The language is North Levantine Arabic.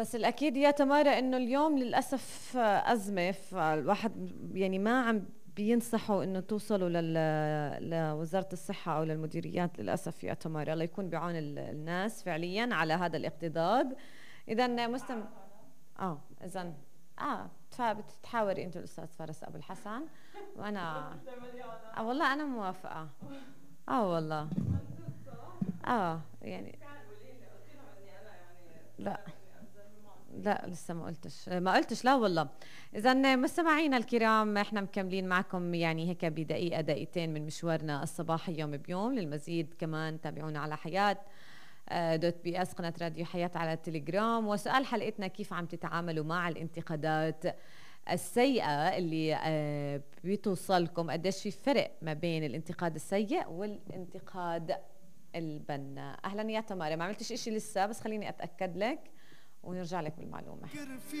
بس الأكيد يا تمارا إنه اليوم للأسف أزمة، فالواحد يعني ما عم بينصحوا إنه توصلوا لوزارة الصحة أو للمديريات للأسف يا تمارا. الله يكون بعون الناس فعليا على هذا الاقتضاض. إذا إذا بتتحاوري أنت الأستاذ فارس أبو الحسن وأنا والله أنا موافقة. والله يعني لا لسه ما قلتش لا والله. إذا مستمعينا الكرام احنا مكملين معكم يعني هيك بدقيقة دقيقتين من مشوارنا الصباحي يوم بيوم. للمزيد كمان تابعونا على حياة .bs قناة راديو حياة على التليجرام. وسؤال حلقتنا: كيف عم تتعاملوا مع الانتقادات السيئة اللي بتوصلكم؟ قديش في فرق ما بين الانتقاد السيء والانتقاد البناء؟ أهلا يا تمارا، ما عملتش إشي لسه بس خليني أتأكد لك ونرجع لك بالمعلومة.